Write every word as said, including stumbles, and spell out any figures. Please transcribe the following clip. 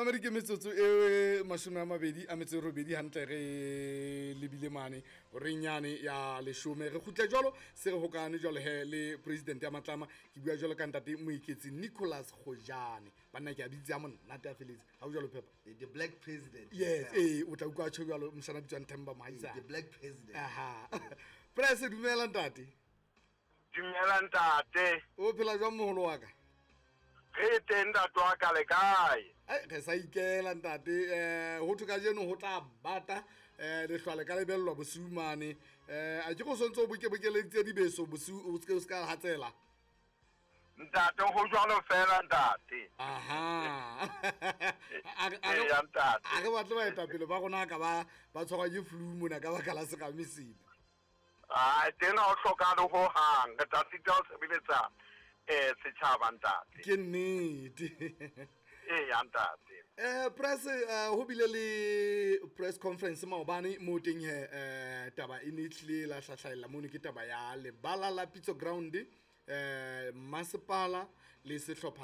Mamedi, ke metsotso e mashome a mabedi a metso e robedi hantle re lebile mane horeng yane ya leshome. Re kgutle jwalo se re hokane jwalo he le president ya Matlama. Ke bua jwalo ka ntate Moeketsi Nicholas Kgojane. Banna, ke a bitse a monate a feletse ha o jwalo phepa. The black president. Yes, ee, o tla utlwa tjho jwalo moshana bitswang Themba Mohaisane. The black president. Aha, press, dumela ntate. Dumela ntate. O phela jwang, moholo wa ka? Re teng, ntate wa ka, le kae? Ai, re sa ikela ntate. um ho thwe kajeno ho tla bata, um lehlwa le ka lebellwa bosiu mane. um a ke go sontse o bokebokeleditse dibeso bosiu, o seke o se ka hatsela? Ntate, ho jwalo fela ntate. Aha. A re- a re- Eya, ntate. A re batle baetapele ba rona ka ba ba tshwarwa ke flu mona ka baka la serame sena. Ai, teng ha o hlokahale ho hang, re tla sita ho sebeletsa um setjhaba ntate. Ke nnete. Eya ntate. Eh press, eh, ho bile le press conference maobane mo teng he, eh taba e ne e tlile la hlahlahella mono, ke taba ya lebala la Pitso Ground, eh masepala le sehlopha.